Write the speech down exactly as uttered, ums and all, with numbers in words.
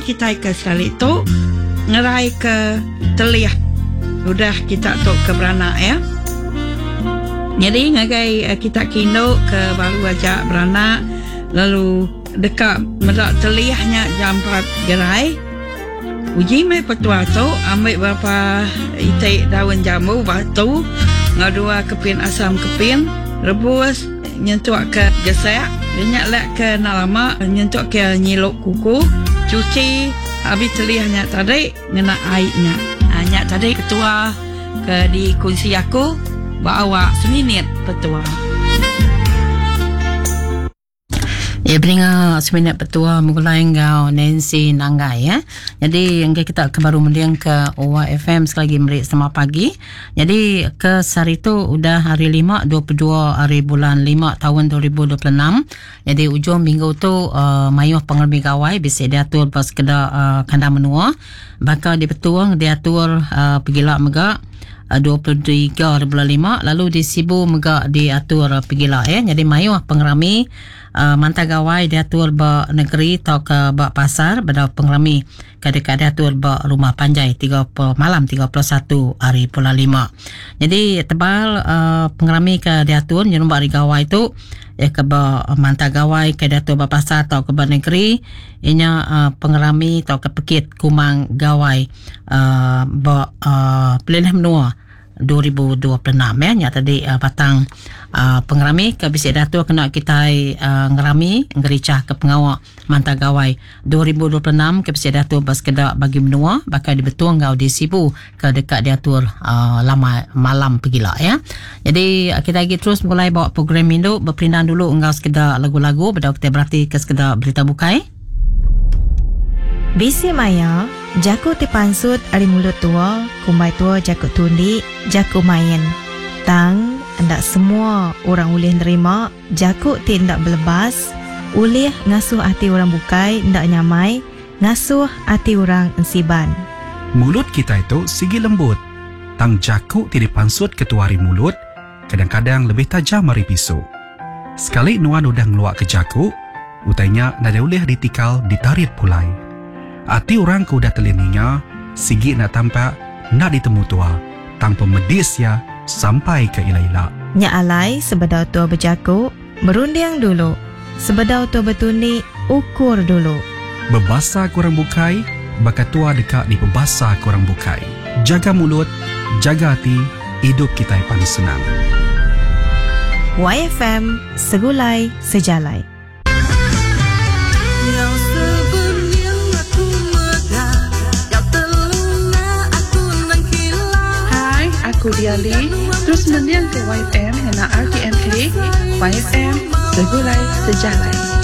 kitai ke sekali tu ngerai ke telih udah kita tu ke beranak ya. Jadi ngagai kita kindu ke baru aja beranak lalu dekat medak telihnya jampat gerai. Uji mai petua tu ambil berapa itik daun jambu batu ngau dua kepin asam kepin rebus nyentuk ke gesek minyak lek ke nak lama nyentuk ke nyiluk kuku cuci habis telihnya tadi ngena airnya. Ha, nyak tadi ketua ke dikunci aku bawa seminit petua. Ya, beringa seminit petua mengulai ngau Nancy Nanggai ya. Jadi yang kita ke baru mending ke Y F M sekali lagi merik selamat pagi. Jadi ke sehari tu udah hari lima dua puluh dua hari bulan lima tahun dua ribu dua puluh enam. Jadi ujung minggu tu uh, mayuh pengermi gawai bisa diatur pas keda uh, kandang menua. Bakal di Petuang diatur uh, pergila mega dua puluh tiga hari bulan lima lalu di Sibu mega diatur pergila ya. Jadi mayuh pengerami uh, mantah gawai diatur ba negeri atau ke ba pasar pada pengerami kadek diatur ba rumah panjai tiga puluh malam tiga puluh satu hari bulan lima. Jadi tebal uh, pengerami ke diatur nyerumba hari gawai tu ya ke ba mantah gawai ke diatur ba pasar atau ke ba negeri inya uh, pengerami atau ke pekit kumang gawai uh, ba uh, pelilih menua dua ribu dua puluh enam ya. Nya tadi uh, batang uh, pengerami ke bisi datur kena kita uh, ngerami ngericah ke pengawak mantah gawai dua ribu dua puluh enam ke bisi datur bas kedak bagi menua bakal dibetung ngau di Sibu ke dekat diatur uh, lama malam pergila ya. Jadi uh, kita lagi terus mulai bawa program induk berperindan dulu ngau sekedar lagu-lagu beda kita berarti ke sekedar berita bukai. Bisi maya, jaku ti pansut ari mulut tua, kumbai tua jaku tundi, jaku main. Tang, endak semua orang ulih nerima jaku ti endak belebas, ulih ngasuh ati orang bukai endak nyamai, ngasuh ati orang ensiban. Mulut kita itu sigi lembut. Tang jaku ti dipansut ketua ari mulut, kadang-kadang lebih tajam ari pisu. Sekali nuan udah ngeluak ke jaku, utainya nadai ulih ditikal ditarit pulai. Ati orang ke udah telininya, sigi nak tampak, nak ditemu tua. Tang pemedis ya, sampai ke ila-ila. Nya alai sebedau tua berjaku, berunding dulu. Sebedau tua bertunik, ukur dulu. Berbasa kurang bukai, baka tua dekat di pebasa kurang bukai. Jaga mulut, jaga hati, hidup kita pan senang. Y F M, Segulai Sejalai. Aku Diali, terus mendiang ke Y F M dengan R T M K, Y F M, Segulai Sejalai.